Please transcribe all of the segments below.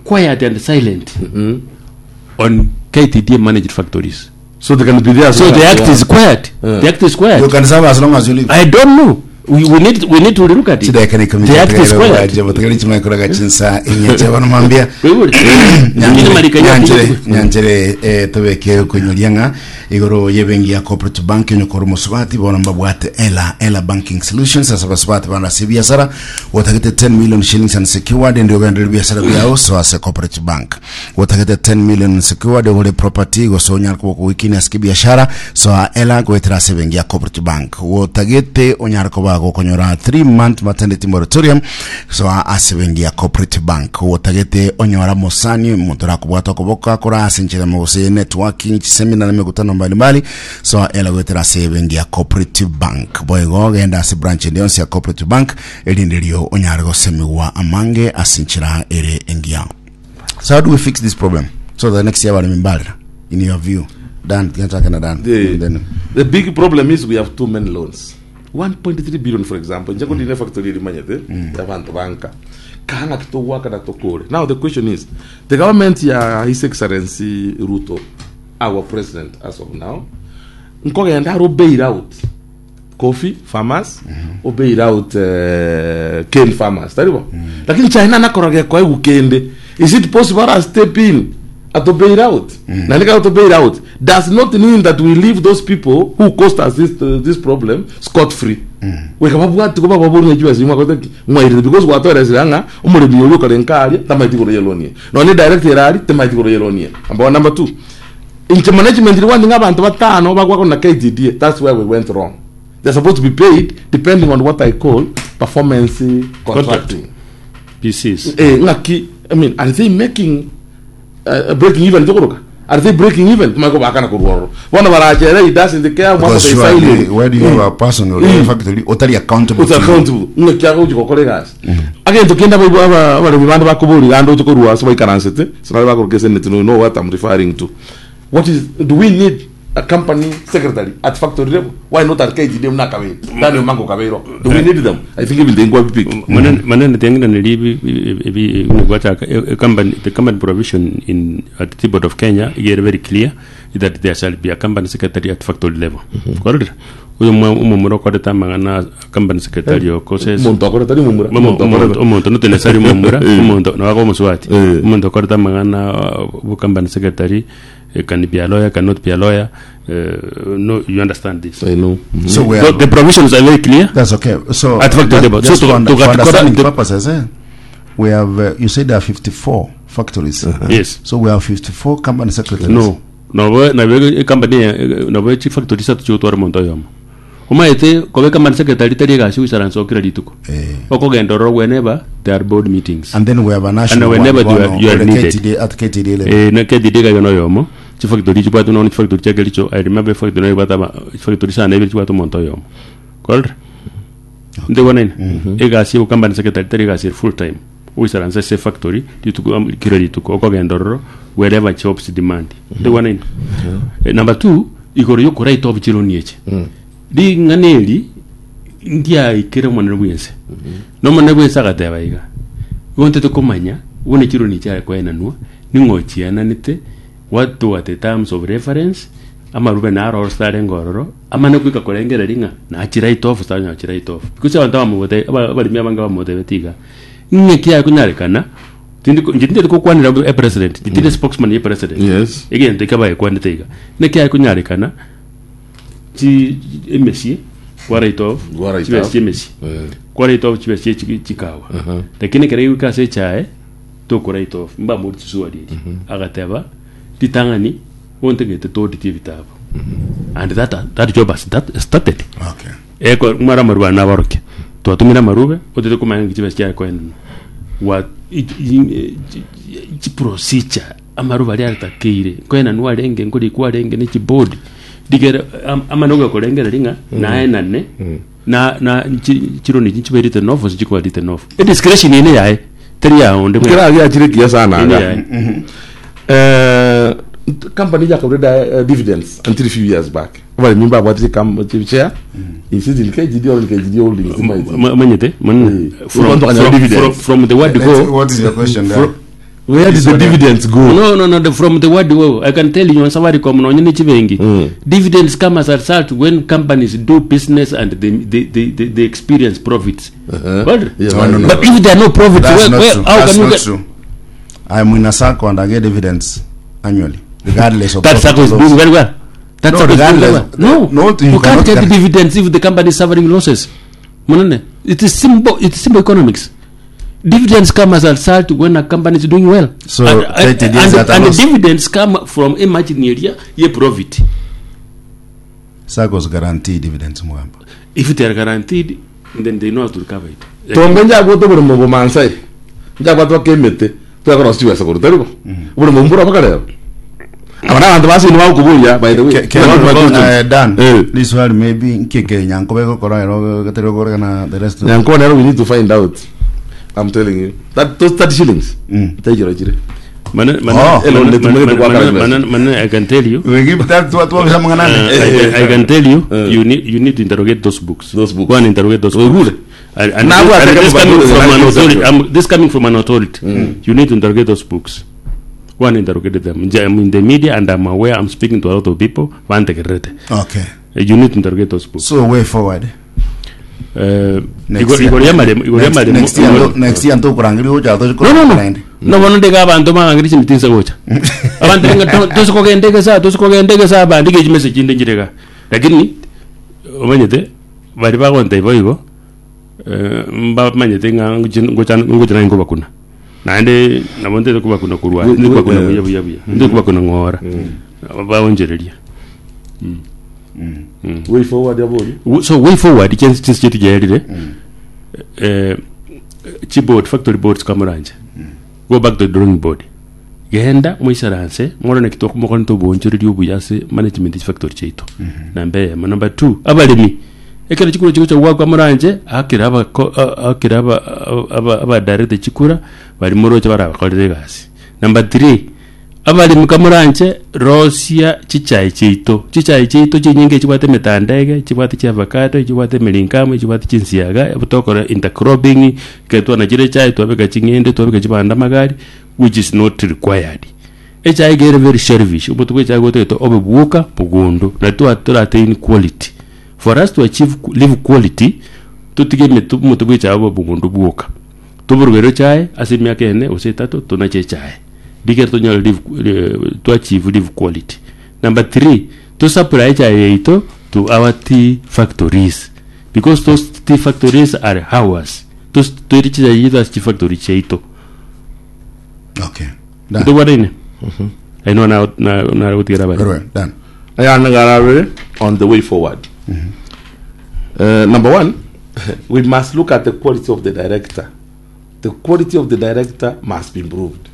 quiet and silent on KTDA managed factories. So they can be there as So long the as act they is are. quiet. Yeah. The act is quiet. You can serve as long as you live. I don't know. We, we need we need to look at it. Chidakika ni The act is quiet. bategari chimakoraga chinsa inyeche bono mambia Wewe- Nyingine marika ya- nyanchere nyanchere eh, tobeke okonyoria ng'a igoro yebengi ya cooperative bank onyokora omosubati bono mbabwate ela ela banking solutions ase abasubati bande ase ebiasara otagete 10 million shillings unsecured ndio ogenderere ebiasara biao so ase cooperative bank Gotagete 10 million secured ogore property gose onyare koba okogoikinia ase kibiashara soa ela goetera ase ebenki ya Cooperative Bank. Gotagete onyare koba gokonyora 3 month maternity moratorium soa ase ebenki ya Cooperative Bank. Gotagete onyora mosani omonto orakobwata okoboko akore ase enchera emo gose networking chiseminar na emekutano mbalimbali soa ela goetera ase ebenki ya Cooperative Bank. Boigo genda ase branch ende yonsi ya Cooperative Bank erinde erio onyare gosemigwa amange ase enchera ere engiya. So how do we fix this problem so that next year abaremi mbarera in your view Dan tiga nchake na Dan The, And then the big problem is we have too many loans 1.3 billion for example nche kondine factory eri manyete abantu banka kang'a kitogwakana tokore now the question is the government ya his excellency ruto our president as of now nkogenda aro bail out coffee farmers o bail out eh, cane farmers tari bo lakini china nakoroga ekoegwa kende is it possible ara step in ato bail out na nika to bail out does not mean that we leave those people who caused us this, uh, this problem scot free weka babwati ko bababori ng'echi basi mwakote ki mwairire because gwatoeresire ng'a omoremi oria okare nkaria tamaeti igoro yelonie nonye direct erari tamaeti igoro yelonie number one number two Inche management rikwani ng'a abanto batano bagwakwa na KTDA, that's where we went wrong. They're supposed to be paid depending on what I call performance contracting. PCs. Eh, ng'aki, I mean, are they making uh, breaking even tokoroka? Are they breaking even? Tumanye kobakana korwa ororo. Bono barachere he doesn't care mwaka because the surely silent. where do you have a person or a factory otari accountable Uta to you? accountable. Ng'aki agochi gokora egasi. Agento kende abaibwa aba abaremi bande bakoboria gande oche korwa ase baikaransete, ase baria bakoroka eseneti no know what I'm referring to. What is do we need a company secretary at factory level? Why not at KTDA buna akabeire? Daniel Mango kabeiro. Do we need them? I think even the inquiry pick. Manene manene tiang'inaneri ebi ebi gwachaka e company the company provision in at the board of Kenya igere very clear that there shall be a company secretary at factory level. Kwarorire? Oyo omwa- omomura okorete amang'ana company secretary okose Omonto akorete tari momura. Omo- Omonto omonto akorete. omonto not necessarily omomura Eh. omonto nabo omosubati Eh. omonto okorete amang'ana uh, bu company secretary eh, can be a lawyer cannot be a lawyer eh, no you understand this I know. So we so are, the provisions are very clear that's okay. So At factory just, level. So just to- for, to- for to- understanding to- purposes, eh, we have uh, you said there are 54 factories. yes So we have 54 company secretaries. no Nabo nabo ecompany eye nabo chifactory isato chigotwara omonto oyomo. Omanyete koba ecompany secretary tari egasi ogoisaransa o kera rituko. Eh. Okogenda ororo whenever there are board meetings. And then we have a national And whenever one, you are- bono, you are ore needed. KTD, at KTD level. Eh, na KTD iga na oyomo, chifactory chibwate nonya chifactory chia Kericho, I remember efactory nero ebwate aba chifactory sana ibere chibwate omonto oyomo. Kwarorire? Ntegonaine? Egasi ya ocompany secretary tari egasi ere full time. Ogoisaransa ase efactory rituko am- kera rituko okogenda ororo wherever jobs demand. Ntegonaine? Eh, Number two, igoro yokoraita obochironi eche. Ring'ana eri ndiaikere omonene bwense. Na omonene bwense agateba iga, igo ntete komanya buna chironi chiare koenanwa, ning'o ochienanete, what were the terms of reference, amarube naro ase arenge ororo, amane goika korengereria ng'a nachi write off gose tanyachi write off. Because abanto abamogote aba abaremi abange bamotebeti iga, ng'aki yakonyarekana, tindi ko inche tintari gokwanera e president, tindi spokesman ye president, Yes. egento ekio abagekwanete iga, naki yakonyarekana chi emesie kwa write off, Kwa write chibesa off. chia emesie, Eh. kwa write off chibesa chia chi- chikawa, lakini ekero egoika ase echae, toko write off, mbamori chiswali eria, agateba ritang'ani Gontagete tooditie ebitabu and that, that job has that started Okay. eko mwara amarube aya nabarokia twatumire amarube otete komanya ng'aki chibesa chiare koenanwa wa i- i- chi- chiprocedure amarube aria aretakeire nkoenanwa arenge nkorikwa arenge ne chiboard rigere am- amana ogokorengereria ng'a naenane na na chi- chironi echi nchibe written off gose chikoba written off ediscretion eye neyaye teri ya onde bwensi. Kera giachire kiya sana Eye iga. neyaye. Eh, company yakaureda uh, dividends until few years back abaremi mbabwatire kam- chi- share is it in KGD or in KGD holdings Ma- manyete manene Eh. from, Ubantu akanyora from, dividends. from, from the word Let's- go What is your question there? Where did the dividends go? No, no, no, the, from the word go. I can tell you on Safaricom nonye ne chibengi. Dividends come as a result when companies do business and they experience profits. Well, Yeah, No, no, no. But if there are no profits, That's where, not where, true. how That's can you not get true. I'm in a circle and I get dividends annually, regardless of that profit circle is or doing loss. very well. That No, circle is doing very well. regardless. No, No, you you can't cannot get guarantee. dividends if the company is suffering losses. Monene, it is simple. It is simple economics. Dividends come as a result when a company is doing well. So, and, 30 days and, at a and the loss. dividends come from a margin area, ye profit. Circles guarantee dividends Mugamba. If they are guaranteed, then they know how to recover it. Tombe njagwete oboremo bomansai njagwate bakemete twakora siwesa koruta ribo oboremo mbura bakareba aba nabantu basini bagokoboria by the way Ke- ke- Abantu bagokoboria. Dan, Eh. this one maybe nkeke nyankobe gokora ero gatero gokora the rest. Nyankore nero we need to find out. I'm telling you. That those 30 shillings. Taijira chire. Mana, mana, Oh. mana, Elonde mana, tumeke mana, kwa mana, karibia. mana, mana, I can tell you. We give that to to bisa mwanane. I can tell you, you need to interrogate those books. Those books. Go and interrogate those books. And Now this, we are and talking this about coming the from an 19th authority. century. This coming from an authority. You need to interrogate those books. Go and interrogate them. I'm in the media and I'm aware. I'm speaking to a lot of people. Vantegerete. Okay. You need to interrogate those books. So way forward. Next year. Igoro y'amaremo. Igoro Next- y'amaremo. Next year next year ntokurangiri ucha to No, no, no. No, bono ndeka abantu bangangiri chimitinsa gocha. Abantu benga tosikogendekesa tosikogendekesa bandike chimessage inde njireka. Lakini omanyete bari bagonta ibo igo mbamanyete ng'a ngocha ngocha nange bakuna. Naende nabo ntete kubakuna kurwa ndi kubakuna buya buya buya ndi kubakuna ng'ora baonjereria. Way forward yabonye. So way forward chensi chinsi chetu jaerire chiboard factory boards kamuranje go back to the drawing board genda mwisaranse mworone kitoko mokone tobonchoreria obuya ase management factory chaito namba eyemo number 2 abaremi ekero chikura chiko chagwakwa muranje akira abako akira aba aba aba direct chikura bari moroche barabakorere egasi number 3 abaremi kamuranje rosia chichai chiaito chichai chiaito chinyinge chibwate emetandege chibwate chiavocado chibwate emiringamu chibwate chinsiaga tokora intercropping ekero twanachire echae twabeka ching'ende twabeka chibanda magari which is not required echae iga ere very selfish omonto bwa echae gotagete obe bwoka mogondo na twa torattain quality for us to achieve live quality totige emete omonto bwa echae obe mogondo bwoka toborogere echae ase emiaka ene gose etato tonache echae rigere tonyore live to achieve live quality number 3 to supply echae yaito to our tea factories because those tea factories are ours Tos- toire chichae chiaito ase chifactory chiaito Okay. Dan. ntobwataine aino na na na gotigera Very abare well. Dan. Ayana garabere on the way forward. Number one, we must look at the quality of the director. The quality of the director must be improved.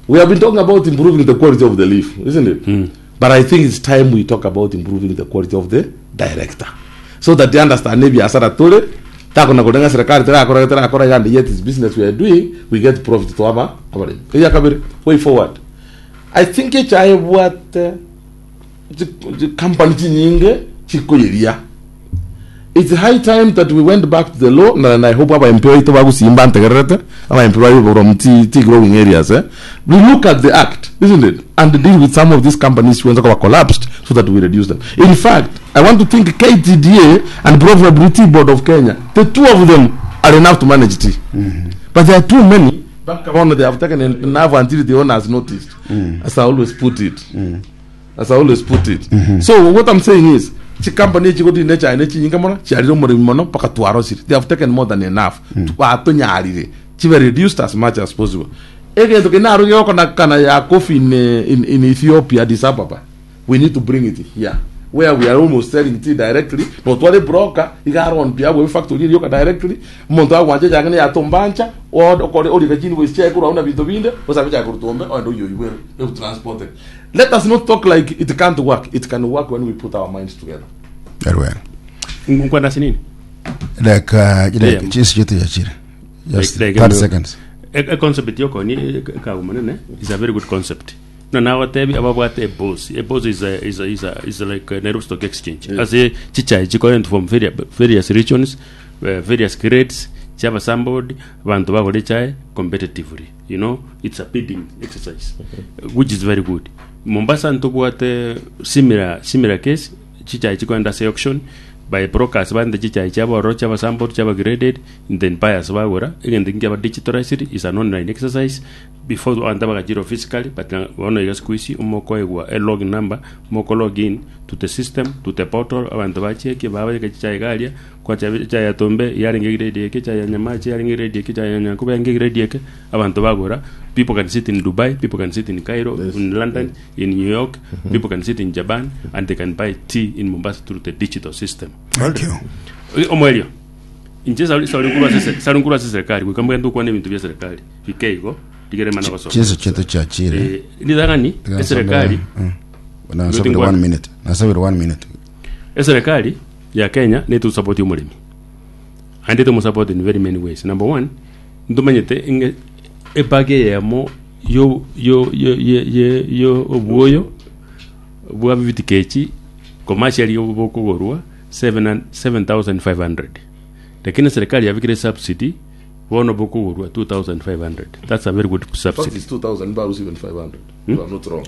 We have been talking about improving the quality of the leaf, isn't it? But I think it's time we talk about improving the quality of the director. So that they understand maybe asara tore takona kudenga serikali tera akora tera akora and yet it's business we are doing we get profit to aba abare. Iya kabiri way forward. I think echaye what company chinyinge chikoyeria it's high time that we went back to the law and I hope our employee to bagusimba ntegerete our employee from tea, tea growing areas eh? We look at the act isn't it and deal with some of these companies when they collapsed so that we reduce them. In fact, I want to think KTDA and probably Tea Board of Kenya, the two of them are enough to manage tea. But there are too many. Back on they have taken enough until the owner has noticed, as I always put it. As I always put it. So what I'm saying is, chikampani chikoti nechaine chinyinga mono chiarire omoremi mono mpaka twarosire. They have taken more than enough. Batonyarire chibe reduced as much as possible. Egento kinaro gĩgokona kana ya coffee in Ethiopia, Addis Ababa. We need to bring it here where we are almost selling tea directly no tware broker igaron pia we factory yoka directly omonto agwancha chake yatombancha okore orika chini we check urauna bintu binde osabe chake rutombe ondo yo you will transport it. Let us not talk like it can't work. It can work when we put our minds together. Very well. Nkwanda sinini Like Yeah. chisi chetu chachire. Just Like- like 30 seconds. A concept yokoni kagumanene is a very good concept. No now tebi ababwate a boss. A boss is a is a is a is a like a Nairobi Stock Exchange. As a chichai chikoent from various regions, various grades. Chiaba sampled, abanto bagora echae competitively, you know, it's a bidding exercise, which is very good. Mombasa ntobwate similar, similar case, chichae chikoenda ase auction, by brokers barente chichae chiabo ororo chiaba sampled, chiaba graded, then buyers bagora, egento ekio nkiaba digitalized, is an online exercise, before abanto bagachirwa physically, but bono iga siku hizi omokoegwa e login number, moko log in to the system, to the portal, abanto bachekie, babeke chichae iga aria, Kwacha echae ya Tombe yarenge grade eke, echae ya Nyamache yarenge grade eke, echae ya Nyankuba yarenge grade eke, abanto bagora. People can sit in Dubai, people can sit in Cairo, in London, in New York, people can sit in Japan and they can buy tea in Mombasa through the digital system. Thank you. Omoerio, inche sari sari nkorwa ase sari nkorwa ase serikali goika mbwente gokwana ebinto bia serikali bike igo rigere mana gosoma. Chinsa chiaito chiachire. Eh, ritang'ani eserikali Nasabire one minute. Nasabire one minute. Eserekari ya Kenya neto support omoremi and etomo support in very many ways. Number one, ntomanyete ng'a ebag eyemo yo yo yo ye ye yo obwoyo bwa 50 kg commercially bokogorwa 7500 lakini serikali yabekire subsidy bono bokogorwa 2500. That's a very good In fact, subsidy. it's 2,000 barrels, even 500. If I'm not wrong.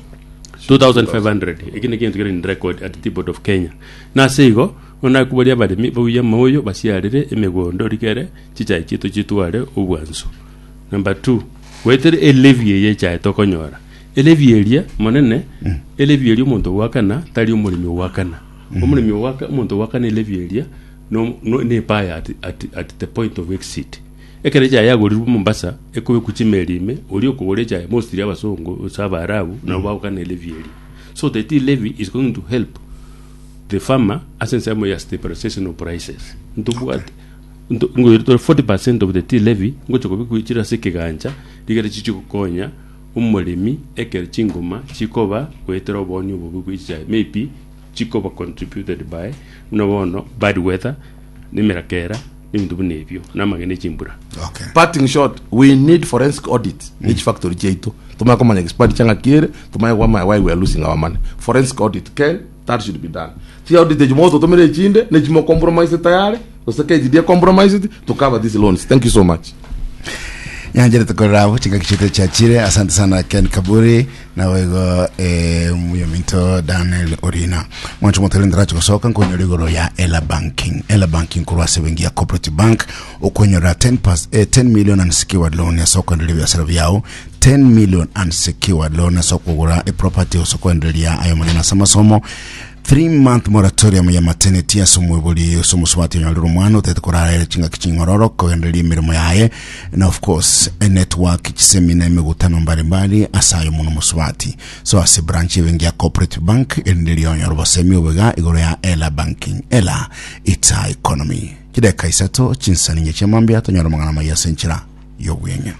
2500 eki nekio gento kere in record at the board of Kenya. Nase igo bono nakoboria abaremi bauye amaoyo basiarere emegondo rigere chichae chiaito chitware obwansu. Number two, goetera elevy eye echae tokonyora elevy eria monene elevy eria omonto ogoakana tari omoremi ogoakana omoremi ogoaka omonto ogoakana elevy eria no no nebuyer at, at, at the point of exit. Ekero echae yagorirwe Mombasa, ekobekwa chimeli ime, oria okogora echae mostly abasongo gose abaarabu nabo bagokana elevy eria. So the tea levy is going to help the farmer ase ensemo ya stabilization of prices. Ntobwate nto ngoira tore 40% of the tea levy ngocha kobekwa chire ase ekegancha rigere chichi gokonya omoremi ekero chingoma chikoba goetera oboonia obobe bwe chichae maybe chikoba contributed by buna bono bad weather, na emerakera, na ebinto buna ebio, na amagena e chimbura. Okay. Parting shot, we need forensic audit mm. each factory chiaito tumanye komanya expenditure ng'aki ere tumanye kwamanya why we are losing our money forensic audit ken that should be done chi audit echi mogototomera echinde nechimo compromise tayari gose KGD compromised to cover these loans thank you so much Nyanjere tukorera abo chingaki chiaito chiachire asante sana Ken Kaburi Naboigo oyominto Daniel Orina mwancho motari ndarache gosoka nkonyora igoro ya Ela Banking. Ela Banking korwa ase benki ya Cooperative Bank okonyora 10 pas, 10 million unsecured loan ase okoendereria ebiasara biao 10 million unsecured loan ase okogora eproperty ase okoendereria ayo manene ase amasomo 3 month moratorium ya maternity ase omoibori ase omosubati onyorire omwana otete korara ere chingaki ching'ororo kogendereria emeremo yaye na of course enetwork chisemina emegutano mbalimbali ase ayo mono mosubati so ase branch ebenki ya cooperative bank erinde rionyore obosemi obwega igoro ya ela banking ela it's our economy chideka isato chinsani nye chia mambia tonyore amang'ana amaya ase enchera y'obweng'e.